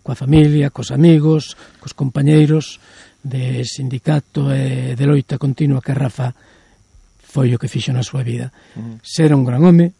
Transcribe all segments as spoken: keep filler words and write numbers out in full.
coa familia, cos amigos, cos compañeiros de sindicato e de loita continua que Rafa foi o que fixo na súa vida. Uh-huh. Ser un gran home,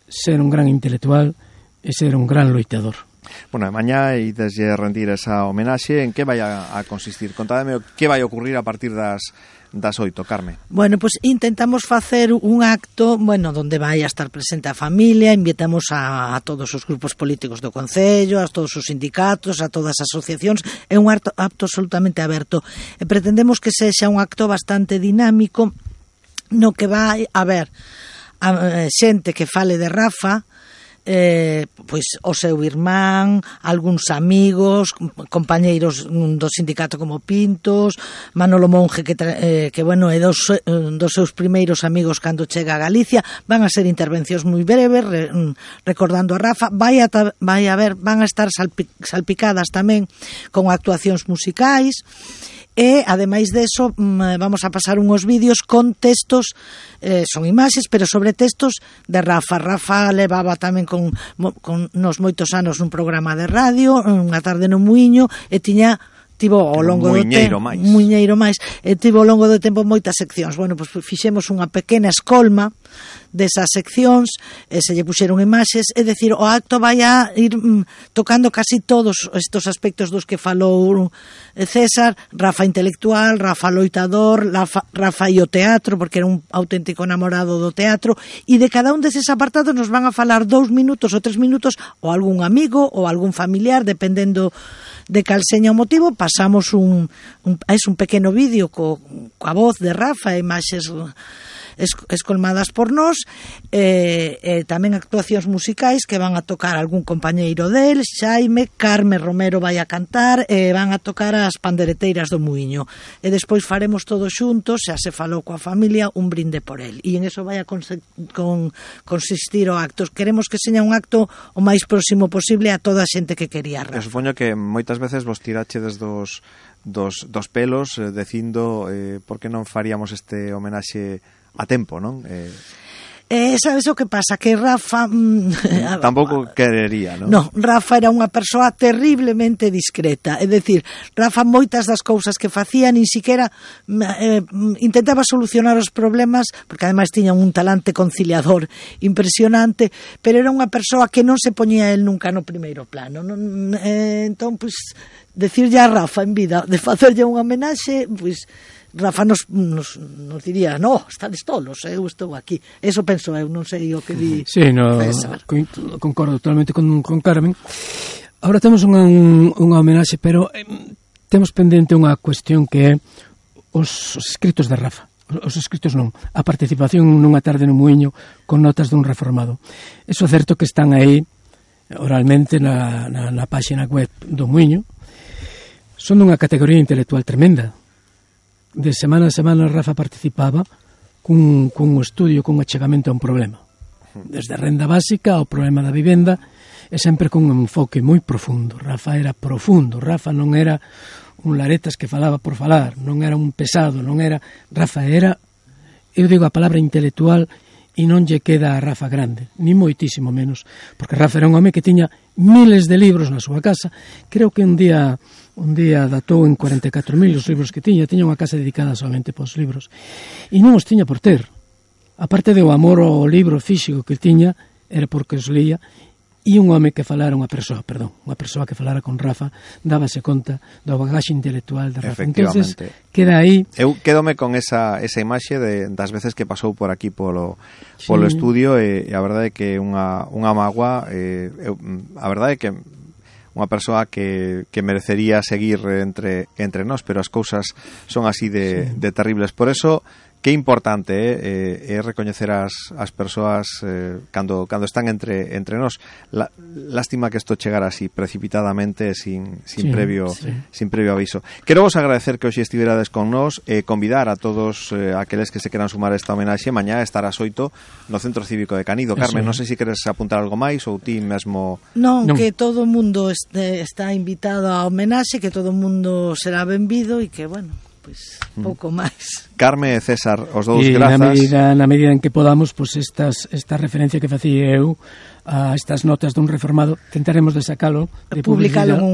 ser un gran intelectual e ser un gran loitador. Bueno, mañá e desde rendir esa homenaxe, en que vai a, a consistir? Contádeme que vai a ocurrir a partir das das oito, Carme. Bueno, pues intentamos facer un acto, bueno, donde vai a estar presente a familia, invitamos a, a todos os grupos políticos do Concello, a todos os sindicatos, a todas as asociacións, é un acto, acto absolutamente aberto. E pretendemos que sexa un acto bastante dinámico, no que vai a haber a, a xente que fale de Rafa, eh, pois o seu irmán, algúns amigos, compañeiros do sindicato como Pintos, Manolo Monge que, eh, que bueno, é dos, dos seus primeiros amigos cando chega a Galicia. Van a ser intervencións moi breves re, recordando a Rafa. Vai a, vai a ver, van a estar salpi, salpicadas tamén con actuacións musicais. E, ademais deso, vamos a pasar unhos vídeos con textos, eh, son imaxes, pero sobre textos de Rafa. Rafa levaba tamén con, con nos moitos anos un programa de radio, unha tarde no Muiño, e tiña tivo ao longo do tempo muiñeiro máis e tivo ao longo do tempo moitas seccións. Bueno, pois fixemos unha pequena escolma desas seccións, e se lle puxeron imaxes, é dicir, o acto vai a ir mm, tocando casi todos estes aspectos dos que falou César. Rafa intelectual, Rafa loitador, Rafa, Rafa e o teatro, porque era un auténtico namorado do teatro, e de cada un deses apartados nos van a falar dous minutos ou tres minutos, ou algún amigo ou algún familiar, dependendo de cal seña o motivo. Pasamos un, un, es un pequeno vídeo co, coa voz de Rafa e imaxes escolmadas por nós, e, e tamén actuacións musicais que van a tocar algún compañeiro del, Xaime, Carme Romero vai a cantar, e van a tocar as pandereteiras do Muiño, e despois faremos todos xuntos, xa se falou coa familia, un brinde por el, e en eso vai a con, con, consistir o acto. Queremos que seña un acto o máis próximo posible a toda a xente que quería Rafa. Eu supoño que moitas veces vos tirachedes dos, dos, dos pelos eh, dicindo eh, por que non faríamos este homenaxe a tempo, non? Eh... Eh, sabes o que pasa? Que Rafa... Mm, tampouco querería, non? No, Rafa era unha persoa terriblemente discreta. É dicir, Rafa moitas das cousas que facía nin siquiera eh, intentaba solucionar os problemas, porque ademais tiña un talante conciliador impresionante, pero era unha persoa que non se poñía el nunca no primeiro plano. Non, eh, entón, pois, decirlle a Rafa en vida de facerlle unha homenaxe, pois... Rafa nos, nos, nos diría, no, estades tolos, eu estou aquí. Eso penso eu, non sei o que di sí, no, concordo totalmente con, con Carmen. Ahora temos unha, unha homenaxe, pero eh, temos pendente unha cuestión que é os, os escritos de Rafa. Os escritos non, a participación nunha tarde no Muiño con notas dun reformado. Eso é certo que están aí oralmente na, na, na páxina web do Muiño. Son dunha categoría intelectual tremenda. De semana a semana Rafa participaba cun, cun estudio, cun achegamento a un problema, desde a renda básica ao problema da vivenda, e sempre con un enfoque moi profundo. Rafa era profundo, Rafa non era un laretas que falaba por falar, non era un pesado, non era... Rafa era, eu digo a palabra intelectual, e non lle queda a Rafa grande, ni moitísimo menos, porque Rafa era un home que tiña miles de libros na súa casa. Creo que un día un día datou en cuarenta e catro mil os libros que tiña, tiña unha casa dedicada solamente para os libros, e non os tiña por ter, aparte do amor ao libro físico que tiña, era porque os leía. E un home que falara, unha persoa, perdón, unha persoa que falara con Rafa, dábase conta do bagaxe intelectual de Rafa. Entonces, queda aí. Eu quedome con esa, esa imaxe de, das veces que pasou por aquí polo, sí. polo estudio, e, e a verdade é que unha, unha magua, eh, eu, a verdade é que unha persoa que, que merecería seguir entre, entre nós, pero as cousas son así de, sí. de terribles. Por eso, que importante é eh, eh, recoñecer as, as persoas eh, cando, cando están entre, entre nós. La, lástima que isto chegara así precipitadamente, sin, sin, sí, previo, sí. sin previo aviso. Quero vos agradecer que hoxe estiverades con nós, e eh, convidar a todos eh, aqueles que se queran sumar a esta homenaxe. Mañá estará ás oito no Centro Cívico de Canido. Carmen, non sei se queres apuntar algo máis, ou ti mesmo... Non, non. Que todo o mundo este, está invitado á homenaxe, que todo o mundo será benvido, e que, bueno... pois pouco máis. Carme e César, os dous e grazas. Na medida, na medida en que podamos, pois estas, esta referencia que facía eu a estas notas dun reformado, tentaremos de sacalo, de publicalo en un